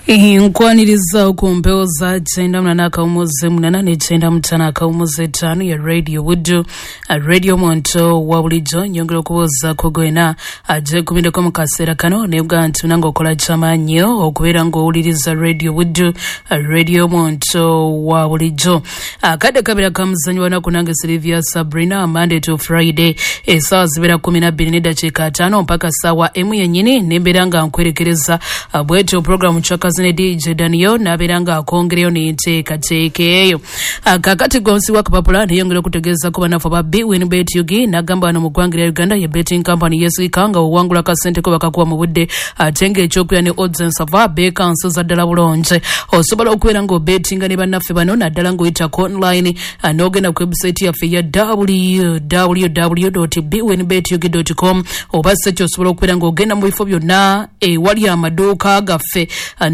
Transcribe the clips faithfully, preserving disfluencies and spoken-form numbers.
Nkwaniriza ku mpewo za kyenda munana akawumuze munana ne kyenda mutano akawumuze ttaano ya Radio Buddu, Radio Muntu wa bulijjo. Nyongera okubuuzaako gwena agyekubindeko mu kaseera kano nebwa nti munange okola kyamaanyi okubeera ng'owuliriza Radio Buddu, Radio Muntu wa bulijjo. Akadde kabeera ka muzannyo wanaku nange Sylvia Sabrina, Monday to Friday essaawa zibeera kumi na bbiri n'eddakiika ataano mpaka ssaawa emu yennyini, nembeera nga nkwerekereza bwetyo programu Chakazi ne D J Daniel nabeera nga akongereyo n'enteekateeka eyo. Kaakati gonsi wa kapapula neyongera okutegeeza ku bannaffe aba Bwinbet U G, n'agamba wano mu ggwanga lya Uganda ye betting company yeesirika nga owangula kasente ko bakakuwa mu budde, ate ng'ekyokulya ne odds ensava beekansiza ddala bulungi. Osobola okubeera ng'obetinga ne bannaffe bano naddala ng'oyita ku online n'ogenda ku website yaffe ya w w w dot bwinbet u g dot com, oba si ekyo osobola okubeera ng'ogenda mu bifo byonna ewali amaduuka gaffe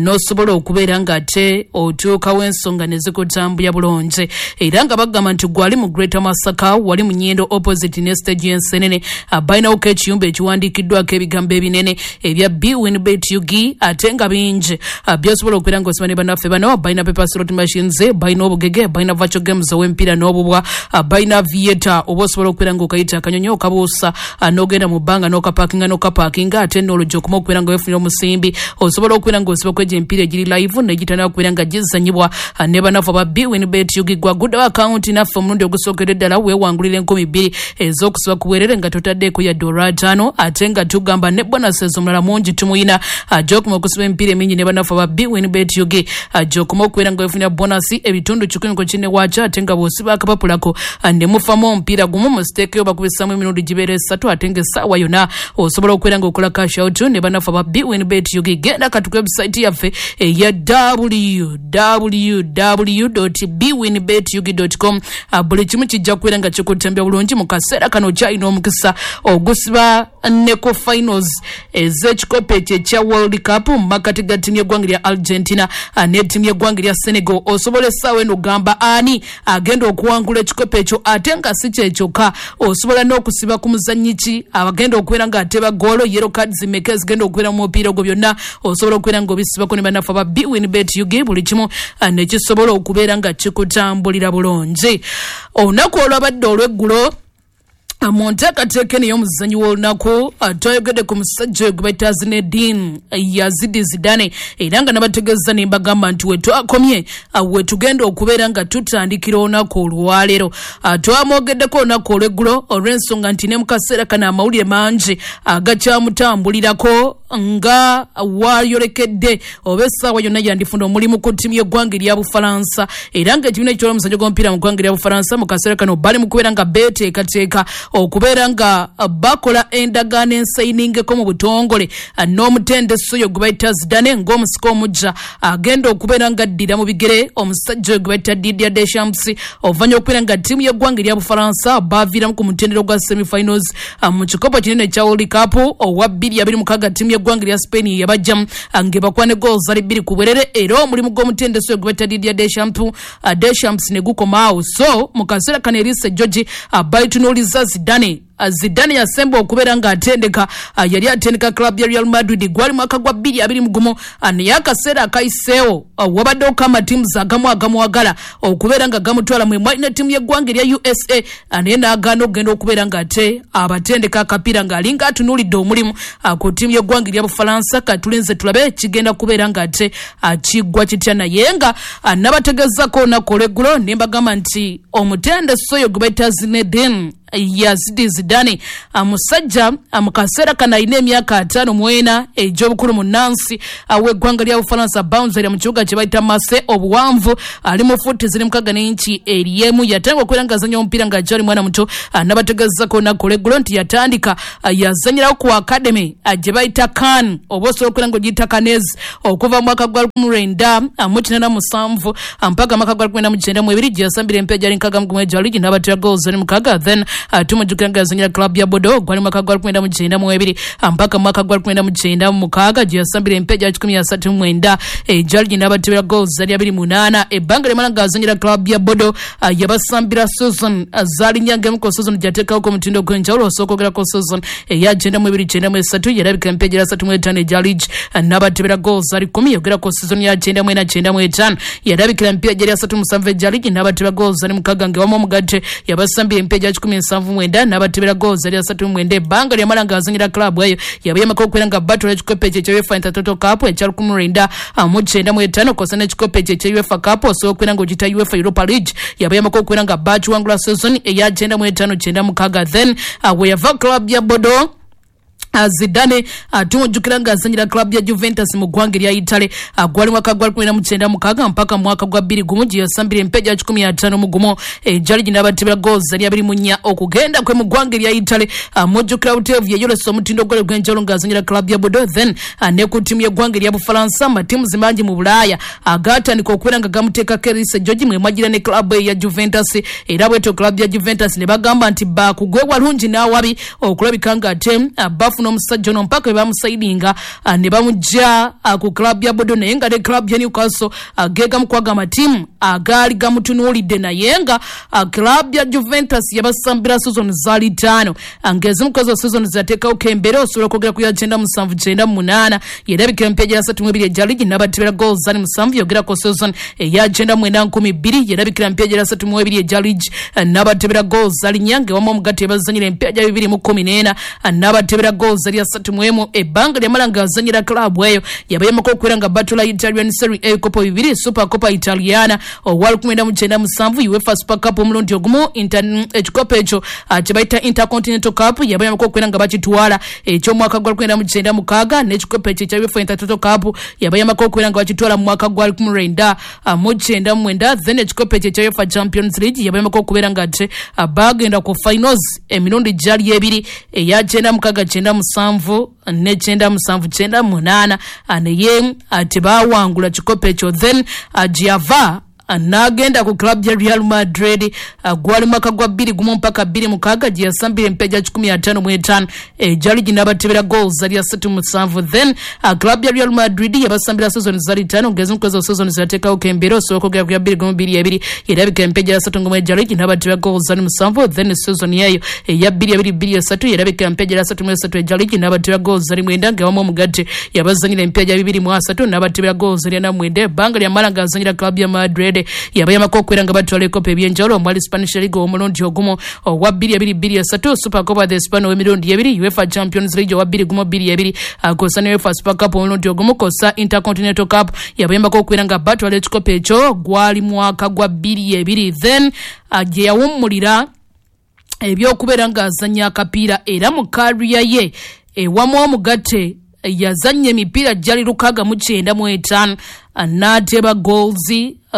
n'osobola okubeera ng'ate otuukawo ensonga ne zikutambulira bulungi. Era nga bagamba nti gwali mu Greater Masaka, wali mu Nyendo opposite ne stage y'Ensenene, balinawo ekiyumba ekiwandiikiddwako ebigambo ebinene ebya Bwinbet U G ate nga bingi by'osobola okubeera ng'osoma ne bannaffe bano. Balina paper slot machines, balina obugege, balina virtual games ow'emipiira n'obubwa, balina aviator oba osobola okubeera ng'okayita akanyonyi okabuusa n'ogenda mu bbanga n'okapakinga n'okapakinga, ate n'oluggi okuma okubeera nga weefunira omusimbi. Osobola okubeera ng'osiba kwegyo emipiira egiri live n'egitandika okubeera nga gizannyibwa ne bannaffe aba Bwinbet U G. Gwaguddewo akawunti naffe omulundi ogusookedde ddala weewangulira enkumi bbiri ez'okusiba ku bwerere nga totaddeeko yadde olwataano, ate nga tugamba ne bonuses omulala mungi tumuyina gy'okoma okusiba emipiira emingi ne bannaffe aba Bwinbet U G, gy'okoma okubeera nga weefunira bonasi ebitundu kikumi ku kinne waakyo, ate nga bw'osiba akapapulako ne mufamu omupiira gumu mu siteekeyo bakubisaamu emirundi gibeera esatu, ate ng'essaawa yonna osobola okubeera ng'okola cash out ne bannaffe aba Bwinbet U G. Genda kati ku website yaffe eya w w w dot bwinbet u g dot com, buli kimu kijja kubeera nga kikutambya bulungi. Mu kaseera kano kyalina omukisa ogusiba ne ku finals ez'ekikopo ekyo ekya World Cup mu makkati ga ttiimu y'eggwanga lya Argentina ne ttiimu y'eggwanga lya Senegal. Osobola essaawa eno ogamba ani agenda okuwangula ekikopo ekyo, ate nga si kye kyokka osobola n'okusiba ku muzannyi ki abagenda okubeera ng'ateba ggoolo, yellow cards mmeka ezigenda okubeera mu mupiira ogwo, byonna osobola okubeera ng'obisibako ne bannaffe aba Bwinbet U G, buli kimu ne kisobola okubeera nga kikutambulira bulungi. Olunaku olwabadde olw'eggulo mu nteekateeka eno ey'omuzannyi w'olunaku twayogedde ku musajja oyo gwe bayita Zinedine Yazid Zidane, era nga nabategeeza ne mbagamba nti we twakomye we tugenda okubeera nga tutandikira olunaku olwaleero. Twamwogeddeko olunaku olw'eggulo olw'ensonga nti ne mu kaseera kano amawulire mangi agakyamutambulirako nga wayolekedde oba essaawa yonna yandifuna omulimu ku ttiimu y'eggwanga erya Bufalansa, era ng'ekibiina ekitwala omuzannyo gw'omupiira mu ggwanga erya Bufalansa mu kaseera kano bali mu kubeera nga beeteekateeka okubeera nga bakola endagaano ensayiningeko mu butongole n'omutendesi oyo gwe bayita Zidane ng'omusika omuggya agenda okubeera nga addira mu bigere omusajja oyo gwe bayita Didier Deschamps, oluvannyuma okubeera nga ttiimu y'eggwanga erya Bufalansa baaviiramu ku mutendera ogwa semifinals mu kikopo kinene ekya World Cup owa bbiri abiri mukaaga. Ttiimu y'eggwanga erya Spain yabajjamu ng'ebakwana ne goals zali bbiri ku bwerere, era omulimu gw'omutendesi oyo gwe bayita Didier Deschamps Deschamps ne gukomaawo. So mu kaseera kano Elise George bayitunuuliza Zidane. Zidane yasemba okubeera ng'atendeka, yali atendeka club ya Real Madrid gwali mwaka gwa bbiri abiri mu gumu, naye akaseera akayiseewo wabaddewo amatiimu agamu agamwagala okubeera nga gamutwala mwe mwali ne ttiimu y'eggwanga erya U S A, naye n'agaana okugenda okubeera ng'ate abatendeka akapiira ng'alinga atunuulidde omulimu ku ttiimu y'eggwanga erya Bufalansa. Katulinze tulabe kigenda kubeera ng'ate kiggwa kitya, naye nga nabategeezako olunaku olw'eggulo ne mbagamba nti omutendesi oyo gwe bayita Zinedine Yazid Zidane musajja mu kaseera kano alina emyaka ataano mu ena egy'obukulu mu nnansi w'eggwanga lya Bufalansa, bouncer mu kibuga kye bayita Marseille, obuwanvu ali mu fuuti ziri mukaaga n'inci eryemu. Yatandika okubeera ng'azannya omupiira ng'akyali mwana muto, nabategeezako olunaku olw'eggulo nti yatandika yazannyirawo ku academy gye bayita Cannes, oba osobola okubeera ng'ogiyita Cannes, okuva mu mwaka gwa lukumi lwenda mu kinaana musanvu mpaka mwaka gwa lukumi lwenda mu kyenda mu ebiri gye yasambira empiira gyali nkaaga mu gumu egya liigi n'abatera goals ziri mukaaga. Then tumujjukira nga yazannya ng'azannyira club ya Bordeaux gwali mwaka gwa lukumi mu kyenda mu ebiri mpaka mwaka gwa lukumi mu kyenda mu mukaaga gye yasambira empeja kikumi asatu mu mwenda egya ligi n'abatebera goals zali abiri munaana. Ebbanga lyamala ng'azannyira club ya Bordeaux yabasambira season zaali nnya ng'emu ku season gyateekawoko omutindo gw'enjawulo. Osooka ogerako season eya kyenda mu ebiri kyenda mu esatu yalabika empeja asatu mu etaano egya ligi n'abatebera goals zali kkumi. Yogerako season ya kyenda mu ena kyenda mu etaano yalabikira empeja eri asatu musanvu egya ligi n'abatebera goals zali mukaaga ng'ewamu omugatte yabasambira empeja kikumi nsanvu mwenda n'abatebera goals zali asatu mu mwenda. Ebbanga lyamala ng'azannyira club eyo yabayamako okubeera nga batwala ekikopo ekyo ekya UEFA Intertoto Cup ekya lukumi lwenda mu kyenda mu etaano kw'ossa n'ekikopo ekyo ekya UEFA Cup osobola okubeera ng'ogiyita UEFA Europa League yabayamako okubeera nga bakiwangula season eya kyenda mu etaano kyenda mukaaga. Then we yava club ya Bordeaux, Zidane tumujjukira ng'azannyira club ya Juventus mu ggwanga erya Italy gwali mwaka gwa lukumi mu kyenda mukaaga mpaka mwaka gwa bbiri gumu gye yasambira empeja kikumi ataano mu gumu egya ligi n'abatebera goals zali abiri mu nnya. Okugenda kwe mu ggwanga erya Italy mujjukira buteevu yeyolesa omutindo gwali ogw'enjawulo ng'azannyira club ya Bordeaux. Then ne ku ttiimu y'eggwanga erya Bufalansa amatiimu mangi mu Bulaaya agaatandika okubeera nga gamuteekako eriiso George mwe mwagira ne club ya Juventus, era bwetyo club ya Juventus ne bagamba nti baakugwe walungi n'awabi okulabika ng'ate bafuna omusajja ono mpaka bamusayidinga ne bamujja ku club ya Bordeaux. Naye nga ne club ya Newcastle gegamu kwaga amatiimu agaali gamutunuulidde, naye nga club ya Juventus yabasambira season zaali ttaano ng'ezimu ku ezo season zateekawo kembeera. Osobola okwogera ku ya kyenda musanvu kyenda munaana yerabikira empeja asatu mu ebiri egya ligi n'abatebera goals zali musanvu. Yogerako season eya kyenda mwenda nkumi bbiri yerabikira empeja asatu mu ebiri egya ligi n'abatebera goals zali nnya ng'ewamu omugatte ebazanyira empeja bibiri mu kkumi n'ena n'abatebera goals zali asatu mu emu. Ebbanga lyamala ng'azannyira club eyo yabayamako okubeera nga batula Italian Serie A ebikopo bibiri, Super Coppa Italiana owa lukumi mu kyenda musanvu, UEFA Super Cup omulundi ogumu, ekikopo ekyo kye bayita Intercontinental Cup yabayamako okubeera nga bakitwala eky'omwaka gwa lukumi mu kyenda mukaaga, n'ekikopo ekyo ekya UEFA Intertoto Cup yabayamako okubeera nga bakitwala mu mwaka gwa lukumi lwenda mu kyenda mu mwenda. Then ekikopo ekyo ekya UEFA Champions League yabayamako okubeera nga ate bagenda ku finals emirundi gyali ebiri, eya kyenda mukaaga kyenda musanvu ne kyenda musanvu kyenda munaana, naye tebawangula kikopo ekyo. Then gyava n'agenda ku club ya Real Madrid gwali mwaka gwa bbiri gumu mpaka bbiri mukaaga gye yasambira empeja kikumi ataano mu etaano egya ligi n'abatebera goals zali asatu musanvu. Then club ya Real Madrid yabasambira season zali ttaano ng'ezimu ku ezo season zateekawo kembeera. Osobola okwogera ku ya bbiri gumu bbiri ebiri yerabika empeja asatu ngumu egya ligi n'abatebera goals zali musanvu. Then season yeeyo eya bbiri abiri bbiri esatu yerabika empeja asatu mu esatu egya ligi n'abatebera goals zali mwenda ng'ewamu omugatte yabazanyira empeja bibiri mu asatu n'abatebera goals zali ana mwenda. Ebbanga lyamala ng'azanyira club ya Madrid yabayamako okubeera nga batwala ebikopo ebyenjawulo omwali Spanish League omulundi ogumu owa bbiri abiri bbiri esatu, Super Copa de España ow'emirundi ebiri, UEFA Champions League owa bbiri gumu bbiri ebiri kw'ossa ne UEFA Super Cup omulundi ogumu kw'ossa Intercontinental Cup yabayambako okubeera nga batwala ekikopo ekyo gwali mwaka gwa bbiri ebiri. Then gye yawummulira ebyokubeera ng'azannya akapiira era mu kariya ye ewamu omugatte yazannya emipiira gyali lukaaga mu kyenda mu etaano n'ateba goals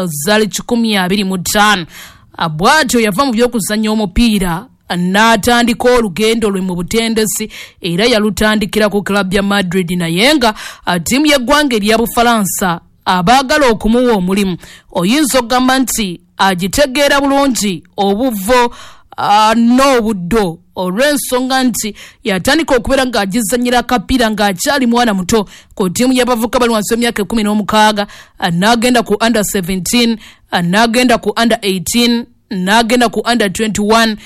zali kikumi abiri mu ttaano. Bw'atyo yava mu by'okuzannya omupiira n'atandika olugendo lwe mu butendesi era yalutandikira ku club ya Madrid, naye nga ttiimu y'eggwanga erya Bufalansa abaagala okumuwa omulimu oyinza okugamba nti agitegeera bulungi obuvo n'obuddo olw'ensonga nti yatandika okubeera ng'agizannyira akapiira ng'akyali mwana muto ku ttiimu y'abavubuka bali wansi w'emyaka ekkumi n'omukaaga, n'agenda ku under seventeen, n'agenda ku under eighteen, n'agenda ku under twenty-one.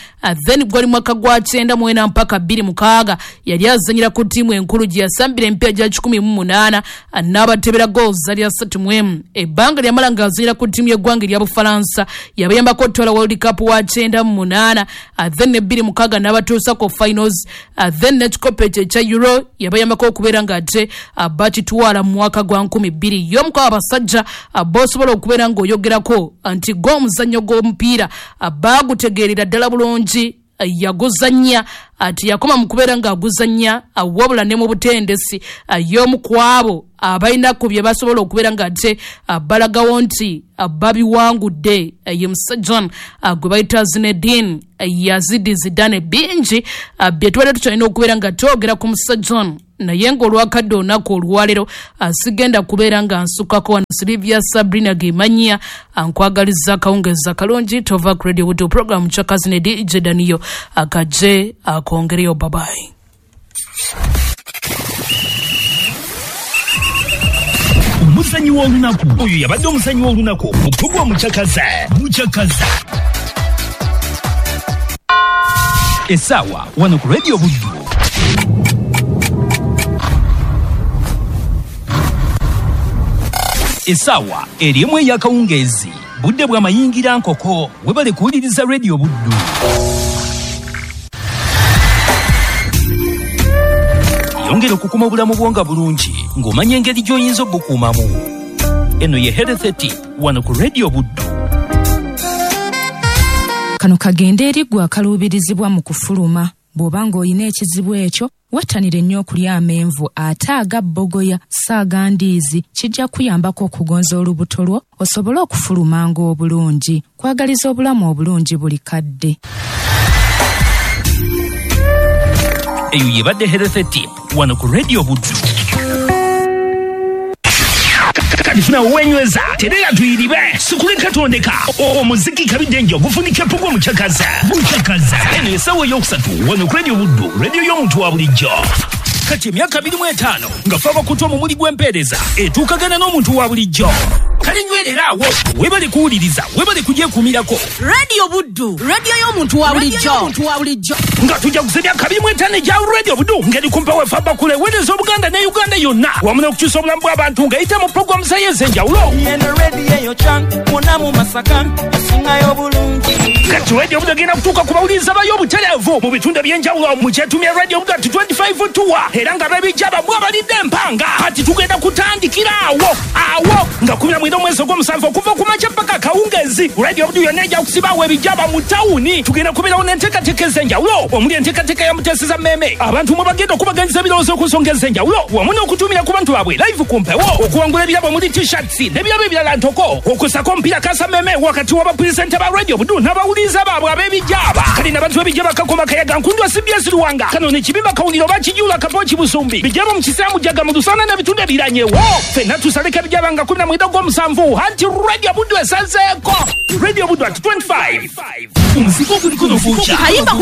Then gwali mwaka gwa kyenda mu ena mpaka bbiri mukaaga yali azannyira ku ttiimu enkulu gye yasambira emipiira gya kikumi mu munaana n'abatebera goals zali asatu mu emu. Ebbanga lyamala ng'azannyira ku ttiimu y'eggwanga erya Bufalansa yabayambako otwala World Cup wa kyenda mu munaana, then ne bbiri mukaaga n'abatuusa ku finals. Then n'ekikopo ekyo ekya Euro yabayambako okubeera ng'ate bakitwala mu mwaka gwa nkumi bbiri. Y'omu ku abasajja b'osobola okubeera ng'oyogerako nti gw'omuzannyo gw'omupiira baagutegeerera ddala bulungi, yaguzannya ati yakoma mu kubeera ng'aguzannya wabula ne mu butendesi y'omu ku abo abalina ku bye basobola okubeera ng'ate balagawo nti babiwangudde. Ye musajja gwe bayita Zinedine Yazidi Zidane. Bingi bye tubadde tukyalina okubeera nga twogera ku musajja, naye ng'olwakadde olunaku olwaleero sigenda kubeera nga nsukako. Wano Silivia Sabrina Gemanya nkwagaliza akawungeezi akalungi. Tova ku Radio Buddu, program Chakazi ne D J Daniyo akaje akongereyo. Babayi. Omuzanyi w'olunaku oyo yabadde omuzanyi w'olunaku mu puroguramu Mucakaza. Mucakaza essaawa wano ku Radio Buddu. Essaawa eri emu ey'akawungeezi, budde bw'amayingira nkoko. Webale kuwuliriza Radio Buddu. Yongera okukuma obulamu bwo nga bulungi ng'omanya engeri gy'oyinza obukuumamu. Eno ye Health Tip wano ku Radio Buddu. Kano kagende eri ggwe akaluubirizibwa mu kufuluma. Bw'oba ng'olina ekizibu ekyo, wettanire nnyo okulya amenvu ate aga bbogoya si aga ndiizi. Kijja kuyambako okugonza olubuto lwo osobole okufulumanga obulungi. Kwagaliza obulamu obulungi buli kadde. Eyo yebadde Health Tip wano ku Radio Buddu. Kati funa wenyweza terera tuyiribe sikuleka tondeka omuziki kabidde ogufunika pugwa. Mucakaza, Mucakaza, eno essaawa eyokusatu wano ku Radio Buddu, radio y'omuntu wa bulijjo. Kati emyaka abiri mu etaano nga fe abakutu omumuli gw'empeereza etuukagana n'omuntu wa bulijjo. Kale nywerera awo, webale kuwuliriza, webale kugyekuumirako. Radio Buddu, radio y'omuntu wa bulijjo. Nga tujja kuza emyaka abiri mu etaano egya Radio Buddu ngeri kumpa wefe abakula eweereza Obuganda ne Uganda yonna wamu n'okukyusa obulamu bw'abantu ng'eyita mu puroguramu zayo ez'enjawulo. Eno rediyo eyo can mwonna mu Masaka esingayo obulungi. Kati Radio Buddu egenda kutuuka ku bawuliriza bayo obutereevu mu bitundu eby'enjawulo mu kyetumya Radio Buddu ati twenty-five tour, era nga bebijja bamwe abalidde empanga. Kati tugenda kutandikira awo awo nga kumi na mwenda omwezi ogw'omusanvu okuva ku makya paka akawungeezi. Radio Buddu yonna ejja kusibaawo ebijjaba mu tawuni. Tugenda kubeerawo n'enteekateeka ez'enjawulo omuli enteekateeka ya Muteeseza Mmeeme, abantu mwe bagenda okubaganyiza ebirowoozo ku nsonga ez'enjawulo wamu n'okutumira ku bantu baabwe live ku mpewo, okuwangula ebirabo omuli T-shirts n'ebirabo ebirala ntoko, okusako omupiira kasa mmeeme wakati w'abapulezidenti ba Radio Buddu n'abawuliriza baabwe ab'ebijjaba. Kale n'abantu b'ebijjaba Kakoma, Kayaga, Nkundwa, C B S Luwanga, kano ne Kibimba, Kawuliro, Bakijula, Kapoki, Busumbi, bijjaba mu Kisaamu, Jaga, mu Lusana n'ebitundu ebiranyewo. Ffenna tusaleko ebijjaba nga kumi na mwenda ogw'omusanvu anti Radio Buddu esazeeko. Radio Buddu at twenty-five, omuziki oguliko nofuuca. Kayimba.